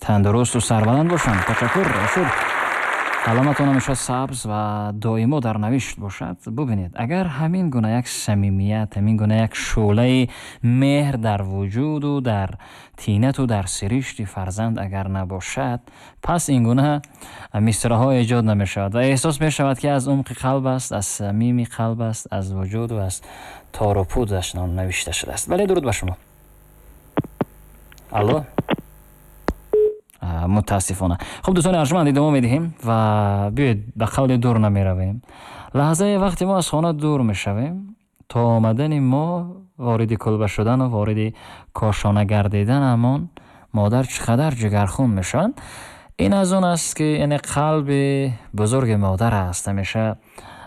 Тандурусту сарбаланд бошанд. Ташаккур, Ашур. Қаламатон ҳамеша сабз ва доимо дар навишт бошад. Бубинед, агар ҳамин гуна як самимият, ҳамин гуна як шӯълаи меҳр дар вуҷуду дар тинату дар сиришти фарзанд агар набошад, пас ин гуна мисраҳо эҷод намешавад ва эҳсос мешавад, ки аз умқи қалб аст, аз самими қалб аст, аз вуҷуду аз тору пудаш навишта шудааст. Бале, дуруд ба шумо. Алло. Мутаассифона. Хуб, дӯстони арҷманд, идома медиҳем ва биёед, ба қавли дур намеравем. Лаҳзае вақте мо аз хона дур мешавем, то омадани мо, вориди кулба шудану вориди кошона гардиданамон, модар чӣ қадар ҷигархун мешаванд. Ин аз он аст, ки яъне қалби бузурги модар аст. Ҳамеша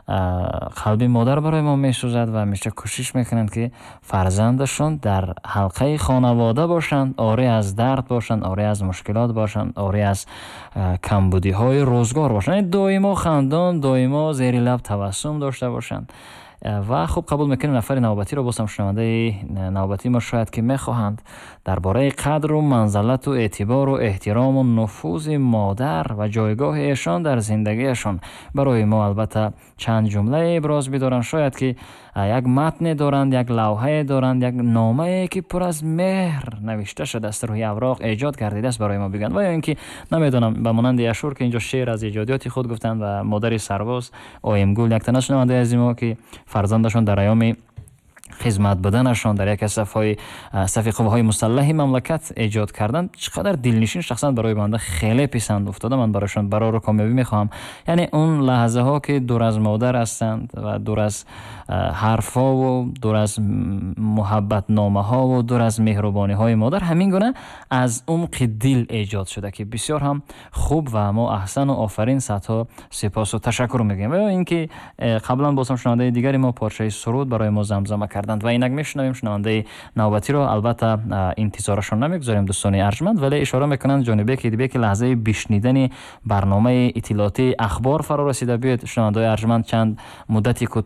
қалби модар барои мо месӯзад ва ҳамеша кӯшиш мекунанд, ки фарзандашон дар ҳалқаи хонавода бошанд, орӣ аз дард бошанд, орӣ аз мушкилот бошанд, орӣ аз камбудиҳои рӯзгор бошанд, яъне доимо хандон, доимо зери лаб табассум дошта бошанд. Ва хуб, қабул мекунем нафари навбатиро. Боз ҳам шунавандаи навбатии мо шояд ки мехоҳанд дар бораи қадру манзалату эътибору эҳтирому нуфузи модар ва ҷойгоҳи эшон дар зиндагиашон барои мо албатта чанд ҷумлае иброз бидоранд. Шояд ки як матне доранд, як лавҳае доранд, як номае, ки пур аз меҳр навишта шудааст, рӯҳи авроқ эҷод гардидааст, барои мо бигӯянд. Ва ё ин ки намедонам, ба монанди Ашур, ки инҷо шеър аз эҷодиёти худ гуфтанд, ва модари сарбоз Оимгул, яктана шунавандаи азизи мо, ки фарзандашон дар айёми хизмат буданашон дар яке аз сафҳои сафи қувваҳои мусаллаҳи мамлакат эҷод карданд, чӣ қадар дилнишин, шахсан барои банда хеле писанд уфтода. Ман барояшон барору комёбӣ мехоҳам. Яъне он лаҳзаҳо, ки дур аз модар ҳастанд ва дур аз ҳарфҳову дур аз муҳаббатномаҳову дур аз меҳрубониҳои модар, ҳамин гуна аз умқи дил эҷод шуда, ки бисёр ҳам хуб ва мо аҳсану офарин, садҳо сипосу ташаккур мегӯем. Ва ё ин ки қаблан боз ҳам шунавандаи дигари мо порчаи суруд барои мо замзама карданд ва инак мешунавем шунавандаи навбатиро. Албатта, интизорашон намегузорем, дӯстони арҷманд, вале ишора мекунанд Ҷонибек Идибек, ки лаҳзаи бишнидани барномаи иттилоотии ахбор фаро расида. Биёед, шунавандаҳои арҷманд, чанд муддати кӯтоҳ.